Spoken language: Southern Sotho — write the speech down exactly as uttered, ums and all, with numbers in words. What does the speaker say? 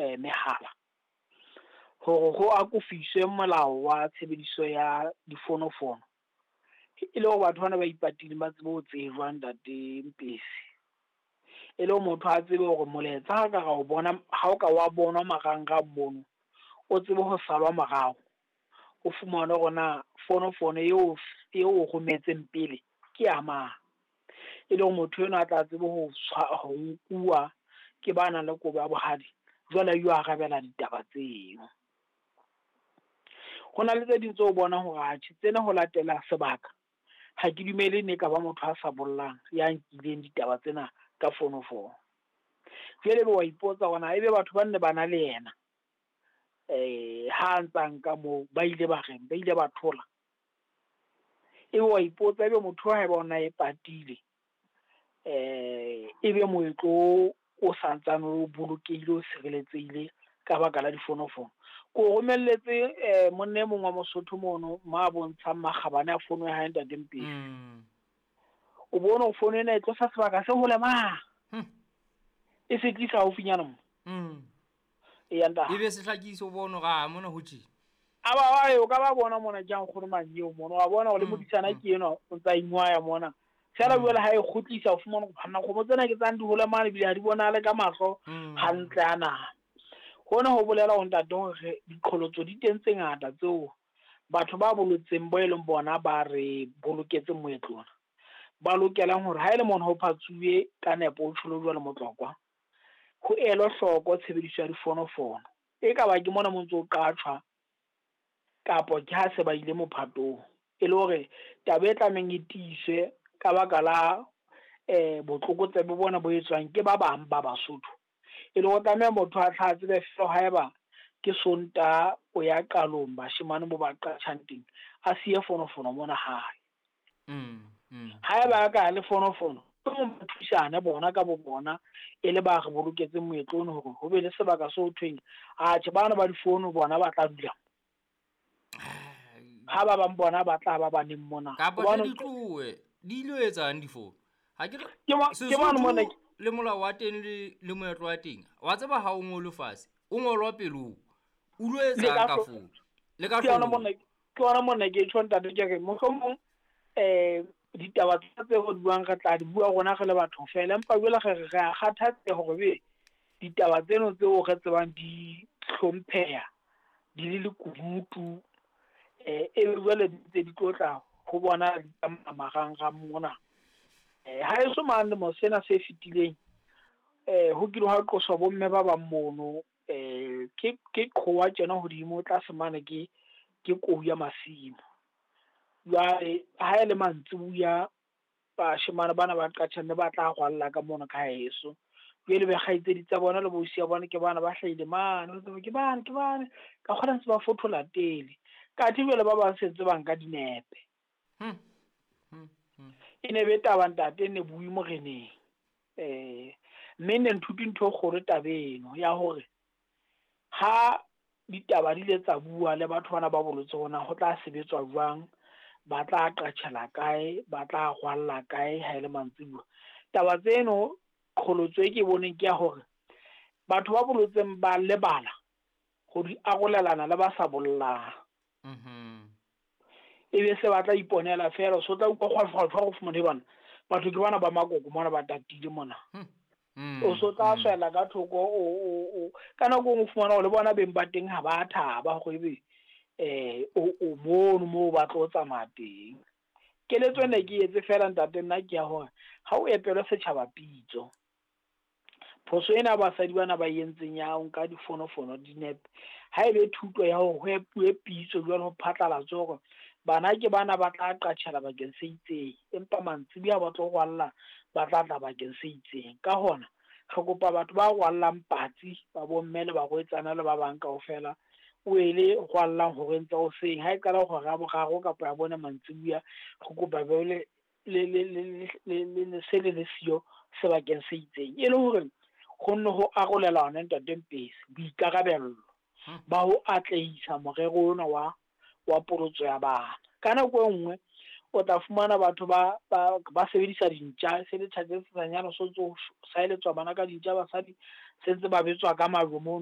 eh, mehala hore ho akofiswe molao wa tshebediso ya difonofono, e le hore batho bana ba ipatileng ba tsebe ho tsejwa ntate Mpesi. E le hore motho a tsebe hore molaetsa ha ka ra o bona, ha o ka wa bonwa marangrang mono, o tsebe ho salwa morao, o fumane hore na fonofono eo eo o rometseng pele ke ya mang. E le hore motho enwa a tla tsebe ho ho nkuwa ke ba nang le kobo ya bohadi, jwale a yo arabela ditaba tseo. Ho na le tse ding tseo bonang hore atjhe tsena ho latela sebaka, ha ke dumele ne ka ba motho a sa bollang ya nkileng ditaba tsena ka fonofono. Jwale ebe wa ipotsa hore na ebe batho ba nne ba na le yena eh ha ntsa nka moo, ba ile ba reng, ba ile ba thola. Ebe wa ipotsa ebe motho haeba ona e patile, eh ebe moetlo o santsane o bolokehile, o sireletsehile ka baka la difonofono. Ko romelletse eh monna e mong wa Mosotho mono ma bontshang makgabane a fono ya hae ntate Mpesi. Mm. O bone hore fono ena e tlosa sebaka se hole mang. Hmm. E se tlisa haufinyana mo. Mm. E ya ntate. Ebe se hlakise o bone hore a mona ho tje. A ba ba o ka ba bona mona ke nkgono Manyeo mona, wa bona hore le Mm, modisana mm. ke enwa o ntsa ingwaya mona. Feela Mm. jwale ha e kgutlisa o fumana hore banna kgomo tsena ke tsang di hole mane ebile ha di bonahale ka mahlo Mm. hantle a naha. Hona ho bolela hore ntate hore diqholotso di teng tse ngata tseo batho ba bolotseng bo e leng bona ba re boloketse moetlo ona, ba lokelang hore ha e le mona ho phatsuwe ka nepo o tjholo jwalo motlokwa, ho elwe hloko tshebediso ya difonofono. E ka ba ke mona mo ntso o qatjhwa kapo ke ha se ba ile mophatong, e le hore taba e tlamehang e tiiswe ka baka la eh botlokotsebe bona bo etswang ke ba bang ba Basotho. E le hore tlameha motho a tla tsebe feela haeba ke Sontaha o ya qalong bashemane mo ba qatjhang teng, a siye fonofono mona hae. Mm, mm. Haeba a ka le fonofono, mohlomong ba thusane bona ka bo bona e le ba re boloketseng moetlo ono hore ho be le sebaka se ho thweng atjhe bana ba difono bona ba tla dula. Ha ba bang bona ba tla ba baneng mona. Kapa Hobane di tlohe, di ilo etsang difono? Ha ke re Ke mo- ke mane mona Sesotho le molao wa teng le, le moetlo wa teng. Wa tseba ha o ngolwe fatshe, o ngolwa pelong. O lo Le etsang ka ka hlo- fono? Le ka Ke yona hloohong. mona, ke yona mona ke tjho ntate ke re mohlomong eh ditaba tsa tse re buang re tla di bua rona re le batho fela, empa jwale re re a kgathatseha hore be ditaba tseno tseo re tsebang di hlompheha di le lekunutu, eh e be jwale di ntse di tlo tla ho bona di tsamaya marangrang mona. Eh ha eso mane lemo sena se fetileng eh ho kile hwa qoswa bomme ba bang mono, eh ke ke qhowa tjena hodimo tlase mane ke ke kou ya masimo. Jwale ha e le mantsibuya bashemane bana ba qatjhang ne ba tla rwalla ka mona ka heso. Jwale be kgaitsedi tsa bona le boausi ya bona ke bana ba hlahile mane, ba tseba ke bane ke bane ka kgona ntse ba fothola tele. Kathe jwale ba bang sentse ba nka dinepe. Hmm. Hmm. Hmm. E ne be taba ntate ne bui moreneng. Eh mme ne nthuti ntho e kgolo tabeng ya hore ha ditaba di ile tsa bua le batho bana ba bolotse hona ho tla sebetswa jwang, ba tla qatjhela kae, ba tla rwalla kae ha e le mantsibuya. Taba tseno qholotso e ke boneng ke ya hore batho ba bolotseng ba lebala ho di arolelana le ba sa bollang. Mhm. E be se ba tla iponela feela, so tla utlwa kgwa, kgwa, kgwa, go fumane bana. Batho ke bana ba makoko mona ba tatile mona. Hmm. Mm, O so tla mm. swela ka thoko, o, o, o, ka nako e nngwe o fumana hore le bona beng ba teng ha ba thaba hore ebe, eh, o, o mono moo ba tlo tsamaya teng. Keletso ena ke etse feela ntate nna ke ya hore ha o epelwe setjhaba pitso. Phoso ena basadi bana ba entseng ya ho nka difonofono dinepe, ha ebe thuto ya hore ho epuwe pitso jwale ho phatlalatswe hore bana ke bana ba tla qatjhela bakeng se itseng, empa mantsibuya ba tlo rwalla ba tla tla bakeng se itseng. Ka hona re kopa batho ba rwallang patsi ba bomme le barwetsana le ba bang kaofela, o ele rwallang horeng tsa hoseng ha e qala hora ya boraro kapa ya bone mantsibuya, re kopa be le le le le le le le se le le siyo sebakeng se itseng, e le hore ho nne ho arolelana ntate Mpesi boikarabello Hmm. ba ho atlehisa morero ona wa, wa polotso ya bana. Ka nako e nngwe o tla fumana batho ba, ba, ba sebedisa dintja, se le tjhatsi se sanyana so tso saeletswa bana ka dintja, basadi se ntse ba betswa ka majwe mono.